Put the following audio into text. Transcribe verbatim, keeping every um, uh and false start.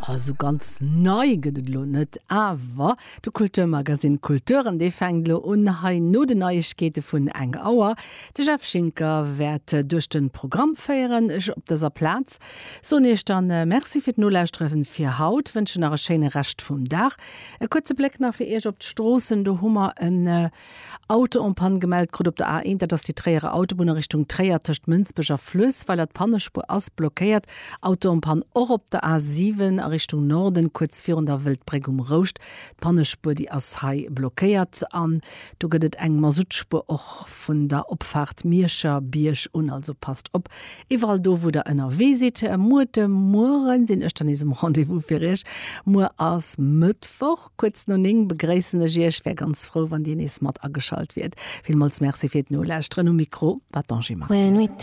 Also ganz nei gëtt et lo net, awer de Kulturmagazin Kulturen, dee fänkt lo un hei no den Neiegkeete vun eng Auer. De Jeff Schinker wäert duerch de Programm féieren. Ech op dëser Plaz soen Iech dann Merci fir d'Nolauschteren fir haut, wënschen nach e schéine Rescht vum Dag. E kuerze Bléck nach fir Iech op d'Stroossen, do hu mer en Auto en panne gemellt krut op der A eent, dat ass déi Tréierer Autobunn a Richtung Tréier tëscht Mënsbech a Fluessweiler. D'Pannespuer ass blockéiert. Auto en panne och op der A siwen a Richtung Norden, kuerz virun der Wëldbréck um Rouscht. D'Pannespuer déi ass hei blockéiert an do gëtt et eng Masuttspuer och vun der Opfaart Mierscher Bierg un. Also passt op iwwerall do wou der ënnerwee sidd. Muer de Mueren sinn ech dann nees um Rendez-vous fir iech. Muer ass Mëttwoch, kuerz no néng begréissen ech iech. Wär ganz frou wann dir nees mat ageschalt wiert. Villmools Merci fir d'Nolauschteren. Um Mikro war d'Angie Maquil.